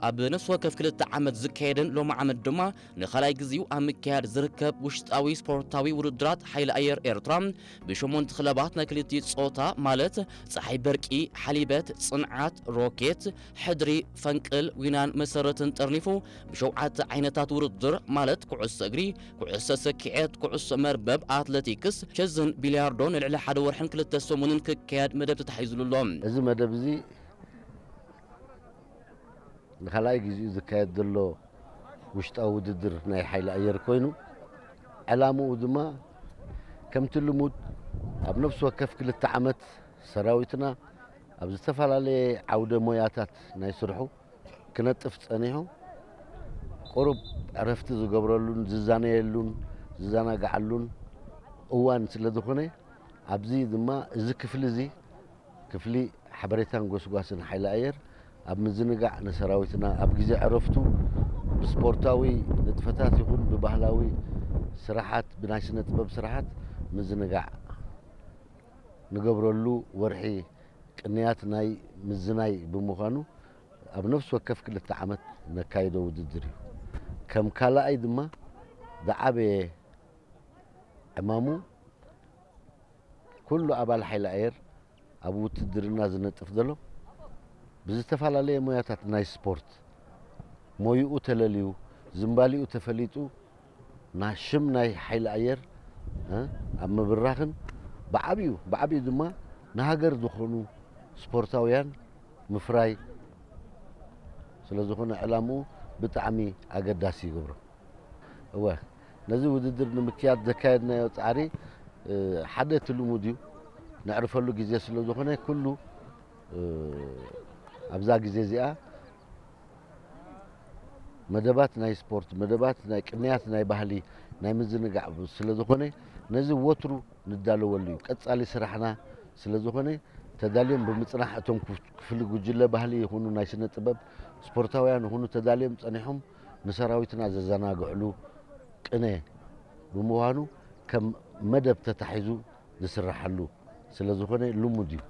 ኣብ ነፍሲ ወከፍ ክልተ ዓመት ዝካየድን ሎሚ ዓመት ድማ ንኻልኣይ ግዜኡ ኣብ ምክያድ ዝርከብ ውሽጣዊ ስፖርታዊ ውድድራት ሓይሊ ኣየር ኤርትራ ብሸሞንተ ክለባት ናይ ክልቲኡ ጾታ ማለት ጸሓይ በርቂ፣ ሓሊበት፣ ጽንዓት፣ ሮኬት፣ ሕድሪ፣ ፈንቅል፣ ዊናን መሰረትን ጠርኒፉ ብሸውዓተ ዓይነታት ውድድር ማለት ኩዕሶ እግሪ፣ ኩዕሶ ሰኪዔት፣ ኩዕሶ መርበብ፣ ኣትለቲክስ፣ ቸዝን ቢልያርዶ ንልዕሊ ሓደ ወርሕን ክልተ ሰሙንን ክካየድ መደብ ተታሒዙሉ ኣሎ። እዚ መደብ እዚ ንኻልኣይ ግዜኡ ዝካየድ ዘሎ ውሽጣዊ ውድድር ናይ ሓይሊ ኣየር ኮይኑ፣ ዕላምኡ ድማ ከምቲ ልሙድ ኣብ ነፍሲ ወከፍ ክልተ ዓመት ሰራዊትና ኣብ ዝተፈላለየ ዓውደ ሞያታት ናይ ስርሑ ክነጥፍ ጸኒሑ፣ ቁሩብ ዕረፍቲ ዝገብረሉን ዝዛነየሉን ዝዘናግዓሉን እዋን ስለ ዝኾነ፣ ኣብዚ ድማ እዚ ክፍሊ እዚ ክፍሊ ሓበሬታን ጎስጓስን ሓይሊ ኣየር ኣብ ምዝንጋዕ ንሰራዊትና ኣብ ግዜ ዕረፍቱ ብስፖርታዊ ንጥፈታት ይኹን ብባህላዊ ስራሓት፣ ብናይ ስነ ጥበብ ስራሓት ምዝንጋዕ ንገብረሉ ወርሒ ቅንያት ናይ ምዝናይ ብምዃኑ ኣብ ነፍሲ ወከፍ ክልተ ዓመት ነካይዶ ውድድር እዩ። ከም ካልኣይ ድማ ዝዓበየ ዕማሙ ኩሉ ኣባል ሓይሊ ኣየር ኣብ ውትድርና ዝነጥፍ ዘሎ ብዝተፈላለየ ሞያታት ናይ ስፖርት ሞይኡ ተለልዩ ዝምባሊኡ ተፈሊጡ ናይ ሽም ናይ ሓይሊ ኣየር እ፣ ኣብ ምብራኽን ብዓብዩ ብዓብዩ ድማ ንሃገር ዝኾኑ ስፖርታውያን ምፍራይ ስለ ዝኾነ ዕላምኡ ብጣዕሚ ኣገዳሲ ይገብሮ። እወ ነዚ ውድድር ንምክያድ ዘካየድናዮ ጻዕሪ እ፣ ሓደ እቲ ልሙድ እዩ። ነዕርፈሉ ግዜ ስለ ዝኾነ ኩሉ እ፣ ኣብዛ ግዜ እዚኣ መደባት ናይ ስፖርት፣ መደባት ናይ ቅንያት ናይ ባህሊ፣ ናይ ምዝንጋዕ ስለ ዝኾነ ነዚ ወትሩ ንዳለወሉ እዩ። ቀጻሊ ስራሕና ስለ ዝኾነ ተዳልዮም ብምጽናሕ እቶም ክፍ-፣ ክፍሊ ጉጅለ ባህሊ ይኹኑ ናይ ስነ ጥበብ ስፖርታውያን ይኹኑ ተዳልዮም ጸኒሖም ንሰራዊትና ዘዘናግዕሉ ቅነ ብምዃኑ ከም መደብ ተታሒዙ ዝስራሓሉ ስለ ዝኾነ ልሙድ እዩ።